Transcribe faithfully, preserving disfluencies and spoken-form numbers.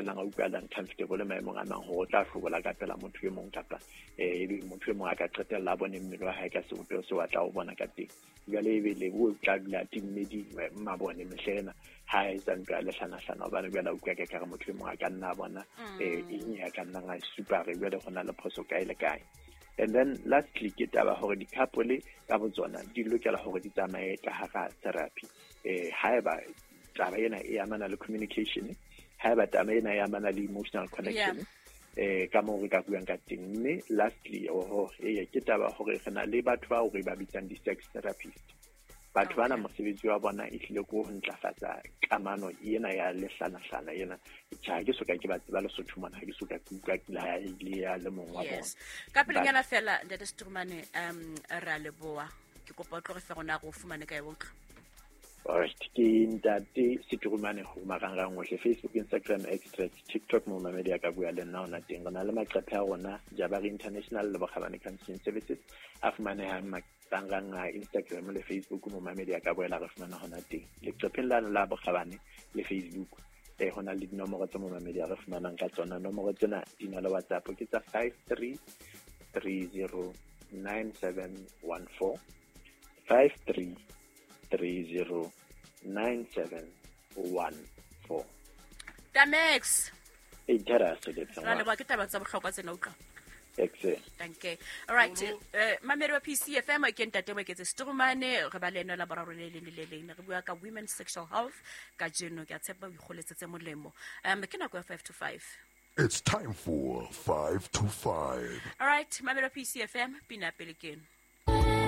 qetellang a utlwa uncomfortable maemong a mang hore o tla hlobola ka pela motho e mong kapa eh ebe motho e mong a ka qetella a bone mmele wa hae ka sebopeho seo a tla o bona ka teng. Jwale ebe Lebo o tla dula a timme mabone mehle ena ha a etsa ntho ya lehlanahlana, hobane jwale a utlwa ka kare motho e mong a ka nna a bona eh eng ya ka nnang a supa re jwale ho na le phoso kae le kae. And then lastly ke taba hore di-couple ka botsona di lokela hore di tsamaye ka hara therapy. Eh haeba taba ena e amana le communication, haeba taba ena e amana le emotional connection, eh ka moo re ka buang ka teng. Mme lastly, oho ee ke taba hore re na le batho bao re ba bitsang di-sex therapist. Batho bana mosebetsi wa bona e hlile ke ho ntlafatsa kamano ena ya lehlanahlana ena. Tjhe, ha ke soka ke ba tseba Lesotho mona, ha ke soka ke utlwa ke la le ya le mong wa bona. Yes, ka pelenyana fela, ntate Seturumane, um re a leboha. Ke kopa o tlo re fe rona re o fumane kae o tlo. Alright, ke ntate Seturumane ho marangrang ohle, Facebook, Instagram, X, TikTok, mo mamedi a ka bua le nna ona teng. Re na le maqephe a rona, Jabari International le Bokgabane Counseling Services, a fumanehang marangrang a Instagram le Facebook, mo mamedi a ka boela re fumana hona teng. Leqepheng lane la Bokgabane le Facebook, eh ho na le dinomoro tse mo mamedi a re fumanang ka tsona. Nomoro tsena di na le WhatsApp, ke tsa five three three zero nine seven one four, five three three zero nine seven one four. Tamex. E thera se le tswa. Ra leboha, ke taba tsa bohlokwa tsena utlwa. Excellent. Thank you. All right. Eh mamedi wa P C F M ke ntate Moeketsi Seturumane, re ba le ena la boraro le leng le leng. Re bua ka women's sexual health kajeno, ke a tshepa o ikgoletse tse molemo. Um ke nako ya five to five. It's time for five to five. All right, mamedi wa P C F M, pina pele ke eno.